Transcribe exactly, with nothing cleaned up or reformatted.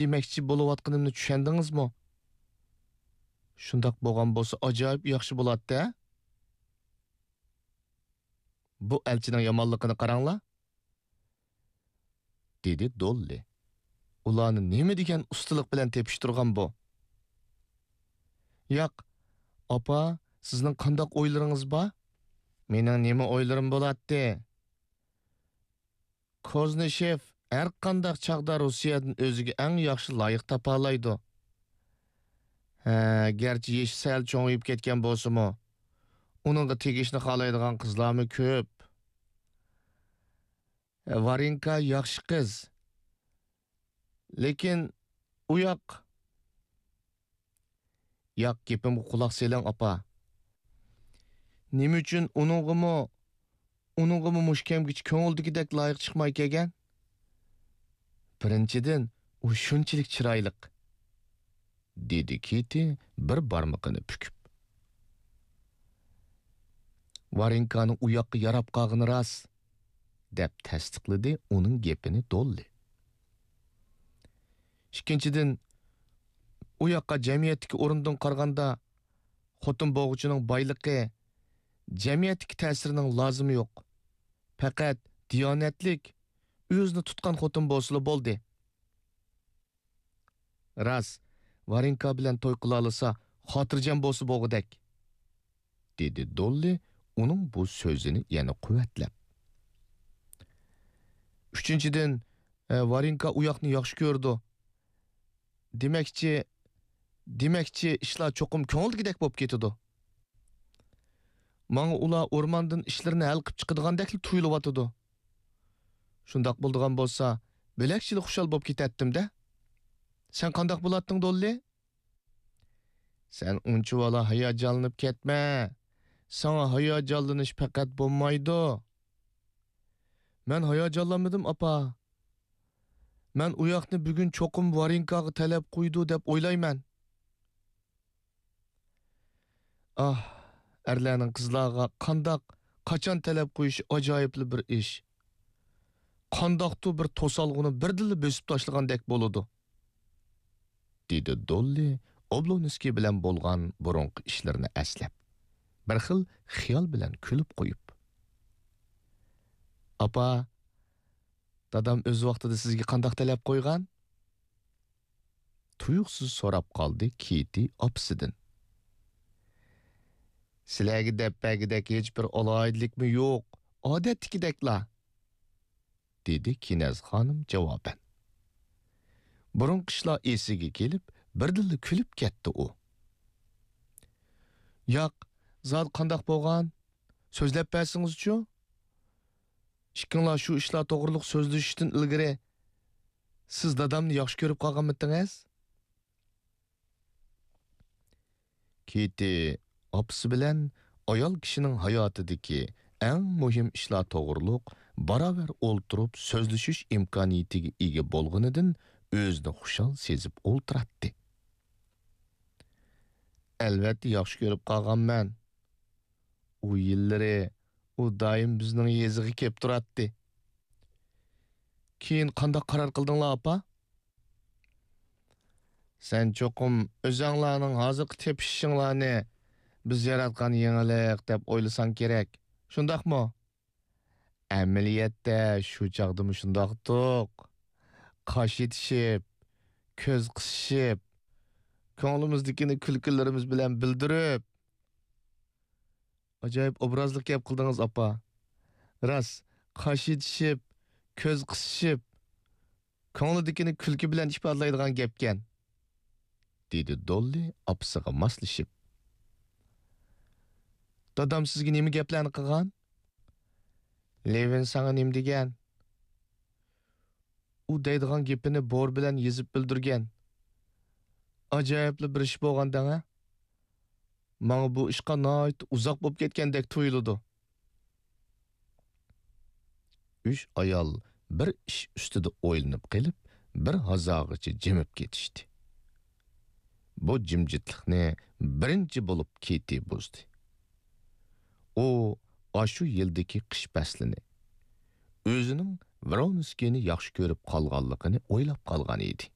دېمەكچى بولۇۋاتقىنىمنى چۈشەندىڭىزمۇ؟ شۇنداق بولغان بولسا ئاجايىپ ياخشى بولاتتى، ھە؟ بۇ ئەلچىنىڭ يامانلىقىنى قاراڭلار، دېدى دوللى. ئۇلارنى نېمە دېگەن ئۇستىلىق بىلەن تېپىشتۇرغان بۇ. ياق، ئاپا، سىزنىڭ قانداق ئويلىرىڭىز بار؟ مېنىڭ نېمە ئويلىرىم بولاتتى؟ كوزنىشېف ھەر قانداق چاغدا روسىيەدىن ئۆزىگە ئەڭ ياخشى لايىق تاپالايدۇ. ھە، گەرچە يېشى سەل چوڭىيىپ كەتكەن بولسىمۇ، ئۇنىڭغا تېگىشنى خالايدىغان قىزلارمۇ كۆپ. ۋارىنكا ياخشى قىز. لېكىن ئۇ ياق. ياق، گېپىمگە قۇلاق سېلىڭ، ئاپا. نېمە ئۈچۈن ئۇنىڭغىمۇ، ئۇنىڭغىمۇ مۇشۇ كەمگىچە كۆڭۈلدىكىدەك لايىق چىقماي كەلگەن؟ بىرىنچىدىن، ئۇ شۇنچىلىك چىرايلىق، دېدى كىتى بىر بارمىقىنى پۈكۈپ. ۋارىنكانىڭ ئۇ ياققا ياراپ قالغىنى راست، دەپ تەستىقلىدى ئۇنىڭ گېپىنى دوللى. ئىككىنچىدىن، ئۇ ياققا جەمئىيەتتىكى ئورنىدىن قارىغاندا، خوتۇن بولغۇچىنىڭ بايلىقى، جەمئىيەتتىكى تەسىرىنىڭ لازىمى يوق. پەقەت دىيانەتلىك، ئۆزىنى تۇتقان خوتۇن بولسىلا بولدى. راست، ۋارىنكا بىلەن توي قىلالىسا، خاتىرجەم بولسا بولغۇدەك، دېدى دوللى ئۇنىڭ بۇ سۆزىنى يەنە قۇۋۋەتلەپ. ئۈچىنچىدىن، ئە، ۋارىنكا ئۇ ياقنى ياخشى كۆرىدۇ. دېمەكچى، دېمەكچى، ئىشلار چوقۇم كۆڭۈلدىكىدەك بولۇپ كېتىدۇ. ماڭا ئۇلار ئورماندىن ئىشلىرىنى ھەل قىپ چىقىدىغاندەكلا تۇيۇلۇۋاتىدۇ. شۇنداق بولىدىغان بولسا، بۆلەكچىلا خۇشال بولۇپ كېتەتتىم-دە. سەن قانداق بولاتتىڭ، دوللى؟ سەن ئۇنچىۋالا ھاياجانلىنىپ كەتمە. ساڭا ھاياجانلىنىش پەقەت بولمايدۇ. مەن ھاياجانلانمىدىم، ئاپا. مەن ئۇ ياقنى بۈگۈن چوقۇم ۋارىنكاغا تەلەپ قويىدۇ دەپ ئويلايمەن. ئاھ، ئەرلەرنىڭ قىزلارغا قانداق، قاچان تەلەپ قويۇشى ئاجايىپلا بىر ئىش. قانداقتۇر بىر توسالغۇنى بىردىنلا بۆسۈپ تاشلىغاندەك بولىدۇ، دېدى دوللى ئوبلونسكىي بىلەن بولغان بۇرۇنقى ئىشلىرىنى ئەسلەپ، بىر خىل خىيال بىلەن كۈلۈپ قويۇپ. ئاپا، دادام ئۆز ۋاقتىدا سىزگە قانداق تەلەپ قويغان؟ تۇيۇقسىز سوراپ قالدى كىتى ئاپىسىدىن. سىلەرگە دەپ بەرگۈدەك ھېچبىر ئالاھىدىلىكمۇ يوق، ئادەتتىكىدەكلا، دېدى كىنەز خانىم جاۋابەن. بۇرۇنقى ئىشلار ئېسىگە كېلىپ، بىردىنلا كۈلۈپ كەتتى ئۇ. ياق، زادى قانداق بولغان؟ سۆزلەپ بەرسىڭىزچۇ؟ ئىككىڭلار شۇ ئىشلار توغرىلىق سۆزلىشىشتىن ئىلگىرى، سىز دادامنى ياخشى كۆرۈپ قالغانمىتىڭىز؟ كىتى ئاپىسى بىلەن ئايال كىشىنىڭ ھاياتىدىكى ئەڭ مۇھىم ئىشلار توغرۇلۇق باراۋەر ئولتۇرۇپ سۆزلىشىش ئىمكانىيىتىگە ئىگە بولغىنىدىن ئۆزىنى خۇشال سېزىپ ئولتۇراتتى. ئەلۋەتتە ياخشى كۆرۈپ قالغانمەن. ئۇ يىللىرى ئۇ دائىم بىزنىڭ يېزىغا كېلىپ تۇراتتى. كېيىن قانداق قارار قىلدىڭلار، ئاپا؟ سەن چوقۇم ئۆزەڭلارنىڭ ھازىرقى تېپىشىشىڭلارنى بىز ياراتقان يېڭىلىق دەپ ئويلىساڭ كېرەك. شۇنداقمۇ؟ ئەمەلىيەتتە شۇ چاغدىمۇ شۇنداقتۇق. قاش ئېتىشىپ، كۆز قىسىشىپ، كۆڭلىمىزدىكىنى كۈلكىلىرىمىز بىلەن بىلدۈرۈپ. ئاجايىپ ئوبرازلىق گەپ قىلدىڭىز، ئاپا. راست، قاش ئېتىشىپ، كۆز قىسىشىپ، كۆڭلىدىكىنى كۈلكە بىلەن ئىپادىلەيدىغان گەپكەن، دېدى دوللى ئاپىسىغا ماسلىشىپ. دادام سىزگە نېمە گەپلەرنى قىلغان؟ لېۋىن ساڭا نېمە دېگەن؟ ئۇ دەيدىغان گېپىنى بور بىلەن يېزىپ بىلدۈرگەن. ئاجايىپلا بىر ئىش بولغان دەڭە. ماڭا بۇ ئىشقا ناھايىتى ئۇزاق بولۇپ كەتكەندەك تۇيۇلىدۇ. ئۈچ ئايال بىر ئىش ئۈستىدە ئويلىنىپ قېلىپ، بىر ھازاغىچە جىمىپ كېتىشتى. بۇ جىمجىتلىقنى بىرىنچى بولۇپ كىتى بۇزدى. ئۇ ئاشۇ يىلدىكى قىش پەسلىنى، ئۆزىنىڭ ۋرونسكىينى ياخشى كۆرۈپ قالغانلىقىنى ئويلاپ قالغان ئىدى.